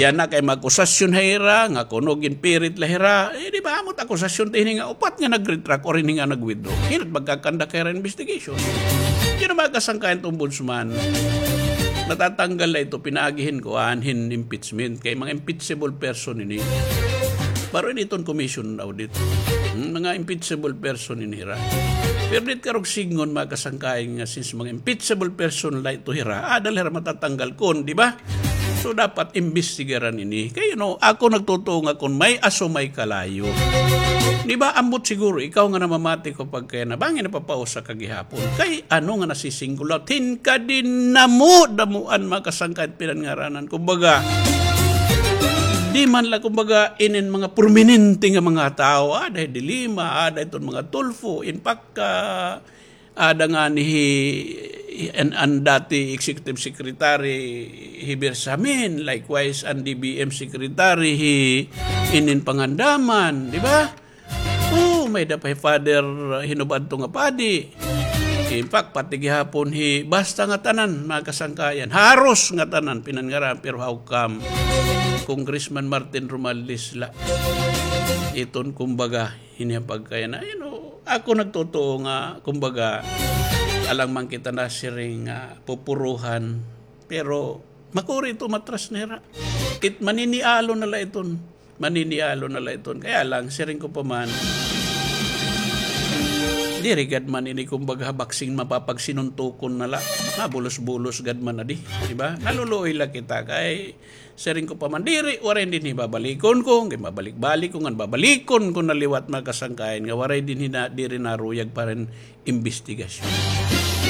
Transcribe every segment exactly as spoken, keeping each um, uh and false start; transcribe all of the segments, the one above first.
Yana kay maakusasyon ha ira, nga kuno ginpirit la hira. Eh, di ba, amo it akusasyon ti hini nga upat nga nag-retract or hini nga nag-withdraw. Hin-o it magkakandak ha ira investigation? Yun ang mga kasangkayan it ombudsman. Matatanggal la ito, pinaagi hin kuan, hin impeachment. Kay mga impeachable person ini. Baro ini iton commission audit. Hmm, mga impeachable person ini hira. Pero diri karuyag sidngon, mga kasangkayan, nga since mga impeachable person la ito hira, aada la hira matatanggal kon, di ba? So, dapat imbestigaran ini. Kay, you know, ako nagtutuo nga kon may aso may kalayo. Di ba, ambot siguro, ikaw nga namamati ko pagkaya na, bangin napapausa ka gihapon. Kay, ano nga nasisingulat? Hin kadinamo-damoan, mga kasangkayan, pinanngaranan. Kumbaga, di man la, kumbaga, inin mga prominente nga mga tao, ah, dahil Dilima, ah, dahil iton mga Tulfo. In fact, ah, ada ngani hi, an, an dati executive secretary hi Bersamin, likewise an D B M secretary hi inin Pangandaman, di ba? Oh, may-ada pa hi Father, uh, hin-o ba adto nga padi. In fact, pati gihapon hi, basta nga tanan, mga kasangkayan. Haros nga tanan, pinanngaranan, pero how come? Congressman Martin Romualdez la. Iton, kumbaga, hini nga pagkaya na, you know, ako nagtutuo nga, kumbaga, alang man kita nasiring nga pupuruhan, pero makuri ito matras na hira. It maninialo na la iton. Maninialo na la iton. Kaya lang, siring ko pa man, diri gad man ini, kumbaga, baksing mapapagsinuntukon na la. Mabulos-bulos gad man na di, di ba? Naluluoy la kita kay siring ko pa man, diri, waray dinhi babalikon ko, kay mabalik-balik ko, ngan babalikon ko na liwat, mga kasangkayan, nga waray dinhi na, diri naruyag pa hin imbestigasyon.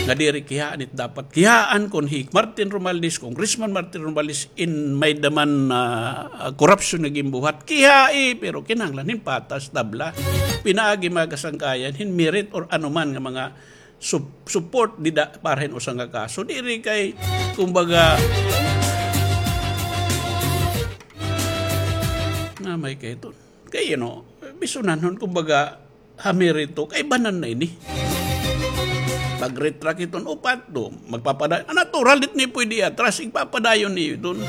Nga diri kiyaan it dapat kiyaan kon hi Martin Romualdez, Congressman Martin Romualdez, in may-ada man, ah, korupsyon nga ginbuhat, kiyai, pero kinahanglan hin patas, tabla. Pinaagi, mga kasangkayan, hin merit or anuman nga mga sup-, support dida para hin usa nga kaso. Diri kay, kumbaga, na may kay iton. Kay, you know, bisunanhon, kumbaga, ha merito, kay banan na ini. Pag-retract iton upat, do, magpapadayon. Ah, natural, diri ini pwede atras, igpapadayon niyo iton.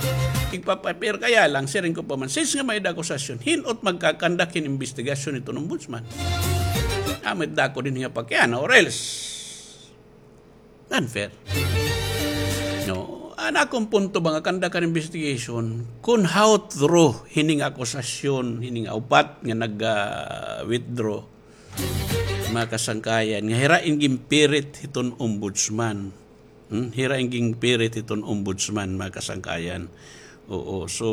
Igpapa-, pero kaya lang, siring ko pa man, since nga may-ada akusasyon, hin-o it magkakandak hin imbestigasyon iton ombudsman? Amo it dako dinhi nga pakiana, or else, unfair. No, an akon punto ba nga kandak an investigation, kon how true hini nga akusasyon, hini nga upat nga nag, ah, withdraw, mga kasangkayan, nga hira in ginpirit hiton ombudsman. Hmm? Hira in ginpirit hiton ombudsman, mga kasangkayan. Oo, so,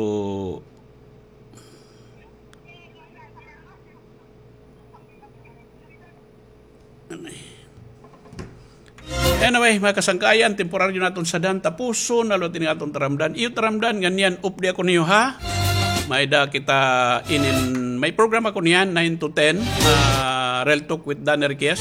anyway, mga kasangkayan, temporaryo naton sadhan, tapuson na liwat ini nga aton taramdan. Iyo taramdan, ngan niyan, updi ako niyo, ha? May-ada kita inin, may programa ko niyan, nine to ten, ah, Real Talk with Dan Enriquez.